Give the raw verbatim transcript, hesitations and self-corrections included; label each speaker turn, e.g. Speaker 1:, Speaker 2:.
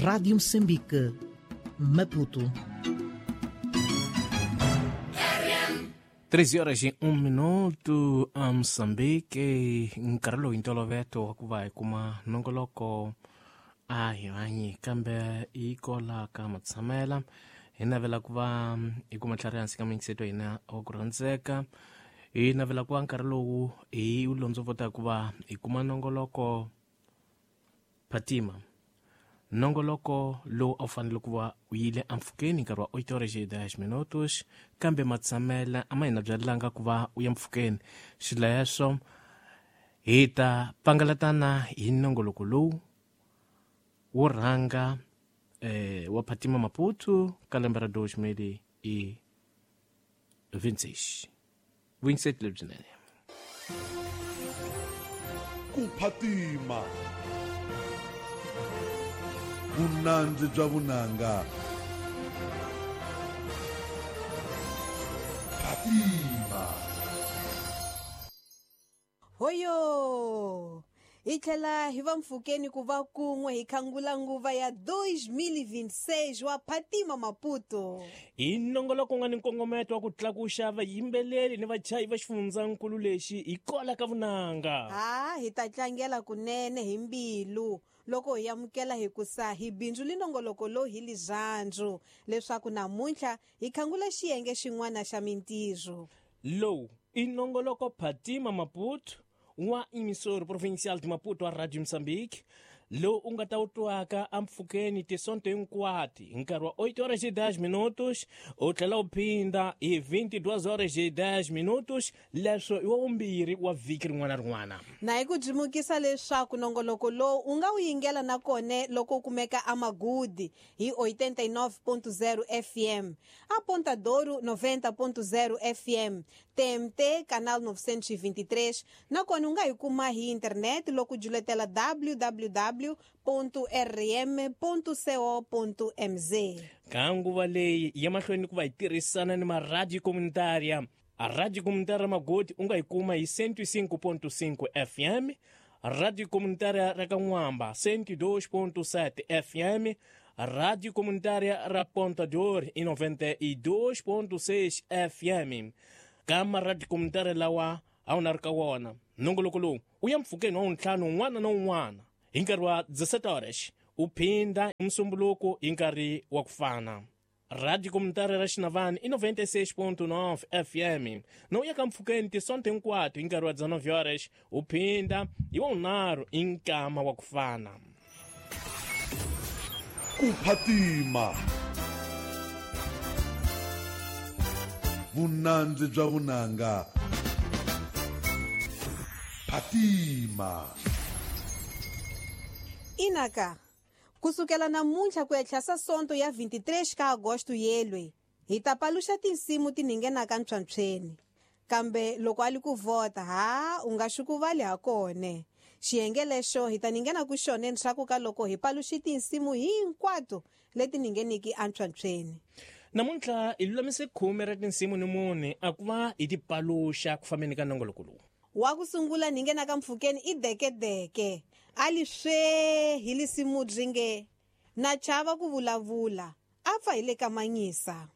Speaker 1: Rádio Moçambique, Maputo.
Speaker 2: treze horas e um minuto a Moçambique, nkarhi lowu hi ntolovelo wa ku va hi kuma nongoloko a hi hanyi kambe yi kola ka matshamela hi navela ku va hi kuma tlhari hansi ka minkiseto hina wa ku rhandzeka hi navela ku va nkarhi lowu hi wu londzovota ku va hi kuma nongoloko Fatima nongoloko lowu a wu fanele ku va u yile empfhukeni nkarhi wa oito horas e dez minutos kambe matshamela a ma hina byalanga ku va u ya mpfhukeni xileswo hi ta pangalatana hi nongoloko lowu wo rhanga eh, wa Fatima Maputo ka lembe ra dois mil e vinte e seis vuyingiseti lebyinene
Speaker 3: ku phatima vunandzi bya vunanga Fatima
Speaker 4: hoyo hi tlhela hi va mpfhukeni ku va kun'we hi khangula nguva ya dois mil e vinte e seis wa Fatima Maputo
Speaker 2: hi nongoloko nga ni nkongometo wa ku tlakuxa vayimbeleri ni vachayi va xifundzankulu lexi hi kola ka vunanga
Speaker 4: ha hi ta tlangela kunene hi mbilu loko hi amukela hi ku sa hi bindzu linongoloko lowu hi lizandzu leswaku namuntlha hi khangula xiyenge xin'wana xa mintirho
Speaker 2: lowu i nongoloko Fatima Maputo wa emissora provincial de Maputo wa Radio Moçambique lowu u nga ta wu twaka empfhukeni tisonto hinkwati hi nkarhi wa oito horas e dez minutos u tlhela u phinda hi vinte e duas horas e dez minutos leswo i wa vumbirhi wa vhiki rin'wana na rin'wana
Speaker 4: na hi ku dzimukisa leswaku nongoloko lowu u nga wu yingela na kone loko u kumeka amagudi hi oitenta e nove ponto zero F M a Ponta Douro noventa ponto zero F M T M T canal novecentos e vinte e três na kona u nga hi kuma hi internet loko juletela w w w ponto r m ponto co ponto m z
Speaker 2: ka nguva leyi ya mahlweni ku va hi tirhisana ni maradio comunitaria a radio comunitaria Magodi u nga hi kuma hi cento e cinco ponto cinco F M radio comunitaria ra ka N'wamba cento e dois ponto sete F M Radio Comunitária ra Ponta Dor i noventa e dois ponto seis F M ka maradio comunitária lawa a wu na ri ka wona nongoloko lowu u ya mpfhukeni wa wuntlhanu wun'wana na wun'wana hi nkarhi wa dezessete horas u phinda musumbunuko hi nkarhi wa ku fana Radio Comunitária ra Xinavani i noventa e seis ponto nove F M no ya ka mpfhukeni tisonto hinkwato hi nkarhi wa dezenove horas u phinda hi wa wunharhu i nkama wa ku fana
Speaker 3: ku phatima vunandzi bya vunanga Fatima
Speaker 4: inaka kusukela namuntlha ku etlhasa sonto ya vinte e três ka agosto yelwe hi ta paluxa tinsimu ti ningenaka ntshwantshweni kambe loko a li ku vhota ha u nga xukuvali ha kone xiyenge lexo hi ta ningena ku xona endzhaku ka loko hi paluxi tinsimu hinkwato leti ningeniki antshwantshweni
Speaker 2: namuntlha hi lulamise khume ra tinsimu ni mune a ku va hi ti paluxa ku fambeni ka nongoloko lowu
Speaker 4: wa ku sungula ningenaka mpfhukeni i dekedeke a li swe hi lisimu dyi nge na chava ku vulavula a pfa hi le ka manyisa